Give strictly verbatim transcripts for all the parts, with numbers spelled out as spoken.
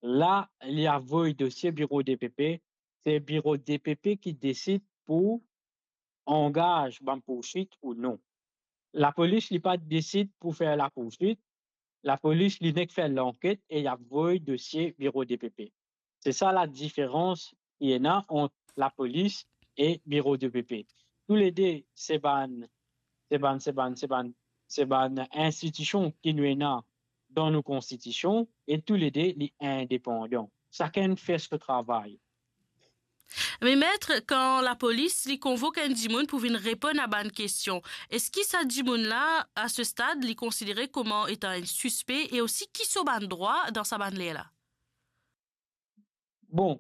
La, li avoy dosie biro DPP, se biro DPP ki desid pou angaz bann pourswit ou non. Lapolis, li pa desid pou fer lapourswit, lapolis, li nek fer lanket e li avoy dosie biro DPP. Se sa ladiferans ki ena ant lapolis e biro DPP. Toulede, se bann, se bann, se bann, se bann, se bann institision ki nou ena dan nou konstitision e toulede, li indepandan. Sakenn fer so travay. Me met, kan lapolis, li konvok enn dimoun pou vinn reponn a bann kestion, eski sa dimoun la, a se stad, li konsidere kouma etan enn sispe e osi ki so bann drwa dan sa bann ler la? Bon,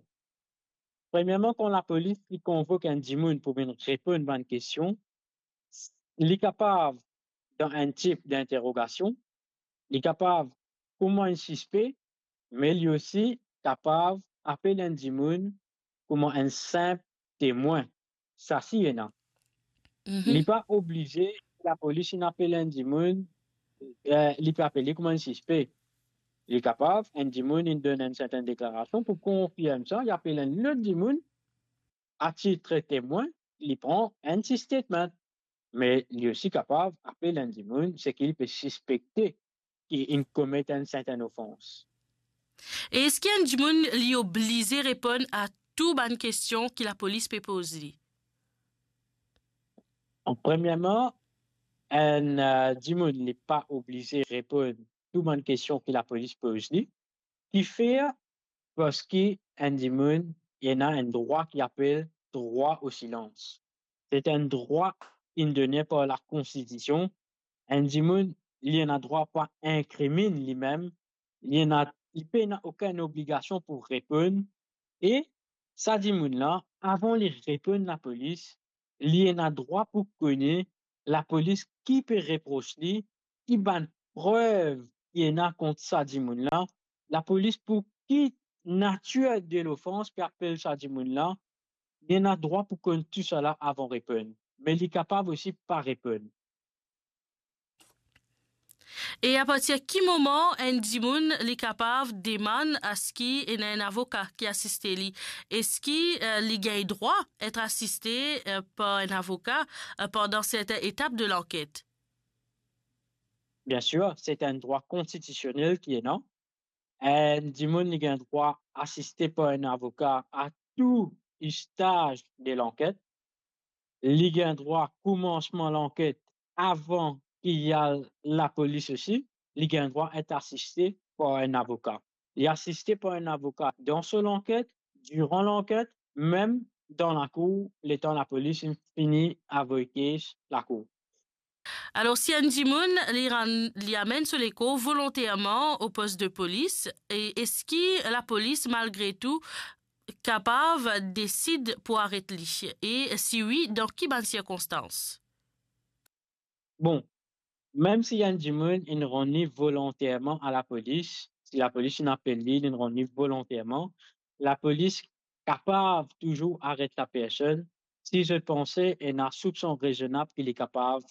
premierman, kan lapolis, li konvok enn dimoun pou vinn reponn bann kestion, li kapav dan enn tip d'interogasion, li kapav kouma enn sispe, me li osi kapav apel enn dimoun kouma enn sinp temwin. Sa si ena. Mhm. Li pa oblize, lapolis inn apel enn dimoun, eh, li pe apel li kouma enn sispe. Li kapav, enn dimoun inn donn enn sertenn deklarasion, pou konfirm sa, li apel enn lot dimoun, a tit temwin, li pran enn ti statement. Me li osi kapav apel enn dimoun seki li pe sispekte ki inn komet enn sertenn ofans. E eski enn dimoun, li oblize reponn a tou bann kestion ki lapolis pe poz li? Premierman, enn, eh, dimoun, li pa oblize reponn tou bann kestion ki lapolis poz li. Kifer? Parski enn dimoun, li ena enn drwa ki apel drwa o silans. Se enn drwa ki inn done par lakonstitision. Enn dimoun, li ena drwa pou inkriminn limem, li ena, li pena okenn obligasion pou reponn. E sa dimoun la, avan li reponn lapolis, li ena drwa pou kone lapolis ki pe repros li, ki bann prev ki ena kont sa dimoun la, lapolis pou ki natir de lofans pe apel sa dimoun la, li ena drwa pou konn tou sala avan reponn. Me li kapav osi pa reponn. E apartir ki moman enn dimoun li kapav demann aski ena enn avoka ki asiste li? Eski, eh, li gagn drwa et asiste, eh, par enn avoka, eh, pandan sertin etap de lanket? Biensir, se enn drwa konstitisionel ki ena. Enn dimoun li gagn drwa asiste par enn avoka a tou staz de lanket. Li gagn drwa koumansman lanket avan ki al lapolis osi, li gagn drwa et asiste par enn avoka. Li asiste par enn avoka dan so lanket, diran lanket, mem dan lakour, letan lapolis inn fini avoy kes lakour. Alor, si enn dimoun, li rann, li amenn so lekor volonterman o pos de polis, e eski lapolis, malgre tou, kapav desid pou aret li? E si wi, dan ki bann sirkonstans? Bon, mem si enn dimoun inn rann li volonterman a lapolis, si lapolis inn apel li, linn rann li volonterman, lapolis kapav touzour aret lapersonn si zot panse ena soupson rezonab ki li kapav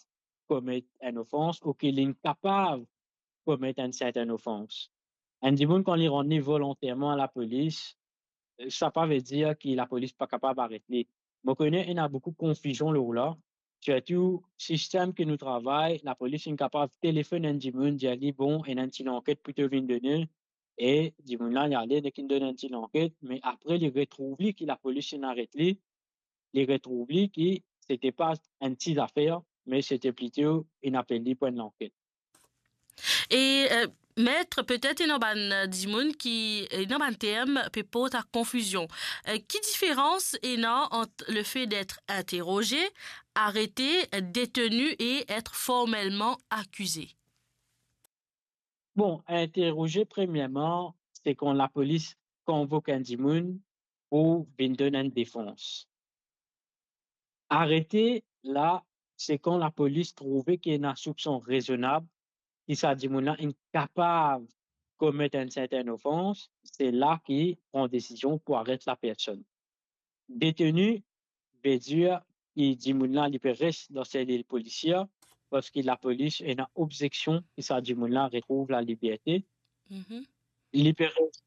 komet enn ofans ou ki linn kapav komet enn sertenn ofans. Enn dimoun, kan li rann li volonterman a lapolis, sa pa vedir ki lapolis pa kapav aret li. Mo kone ena boukou konfizion lor la, sirtou sistem ki nou travay, lapolis inn kapav telefonn enn dimoun, dir li, "Bon, ena enn ti lanket pou to vinn done," e dimoun la, li ale, nek inn donn enn ti lanket, me apre li retrouv li ki lapolis inn aret li, li retrouv li ki sete pa enn ti zafer, me sete plito inn apel li pou enn lanket. E, eh, met, petet ena bann, eh, dimoun ki, eh, ena bann term pe port a konfizion. Eh, ki diferans ena ant le fait d'être interrogé, arrêté, détenu et être formellement accusé? Bon, interroger, premierman, se kan lapolis konvok enn dimoun pou vinn donn enn defans. Arete, la, se kan lapolis trouve ki ena soupson rezonab ki sa dimoun la inn kapav komet enn sertenn ofans, se la ki pran desizion pou aret lapersonn. Deteni, vedir ki dimoun la, li pe res dan selil polisier, parski lapolis ena obzeksion ki sa dimoun la retrouv laliberte. Mhm. Li pe res